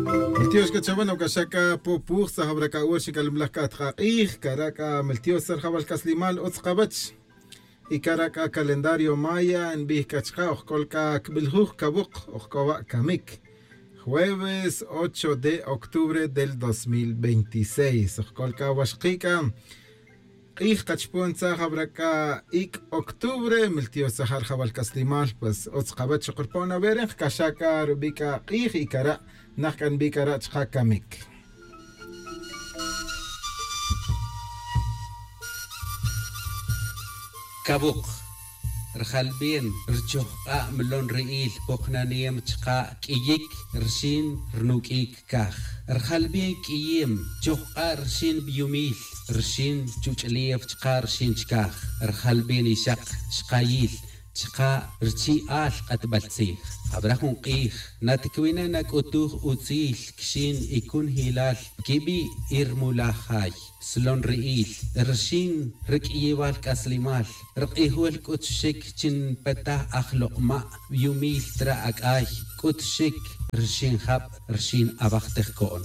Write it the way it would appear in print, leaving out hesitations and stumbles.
Miltios kachabana ukashaka popuj sahabraka urshi kalimlaka tqaq'ij karaka miltios sarjabal kaslimal utzqabach y karaka calendario maya nbij kachqa ojkolka kbiljuj kabuq ojkowa kamik. Jueves 8 de octubre del 2026 ojkolka waxqika q'ij qachpun tzajabraka ik octubre miltios sajar jabal kaslimal pues utzqabach qurpona berej kashaka rubika q'ij y kara najkan bikara chqa kamik. Kabuq rjalb'ien rchojq'a mlon ri'il poqnaniem chqa k'iyik rxin rnuk'ik kaj rjalb'ien k'iyim chojq'a rxin b'yumil rxin chuch'lief chqa rxin chkaj rjalb'ien ixaq xqayil chqa rchi'al q'atb'altzij habrá jun q'ij natikwina nak'utuj utzil kxin ikun hilal kib'i irmulaj jay slon ri'il rxin rk'iyiwal k'aslimal rq'ijwel k'utxik chin petaj ajloq'ma' b'yumil tra ak'ay k'utxik rxin jab' rxin ab'aj tejko'n.